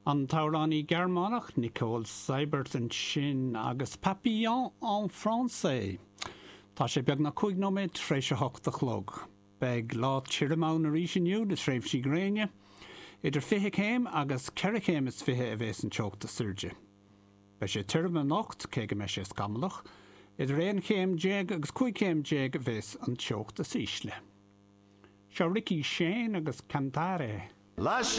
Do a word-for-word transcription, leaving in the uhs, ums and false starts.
An t-amhránaí Gearmánach Nicole Seibert ansin agus Papillon en français. Tá sé beagnach cúig nóiméad tar éis a hocht a chlog. Beidh lá tirim ann arís inniu le tréimhsí gréine, idir fiche céim agus ceithre chéim is fiche a bheas an teocht is airde. Beidh sé tirim anocht cé go mbeidh sé scamallach, idir aon chéim déag agus cúig chéim déag a bheas an teocht is ísle. Seo Ricky Shane agus Cantare. Lasciami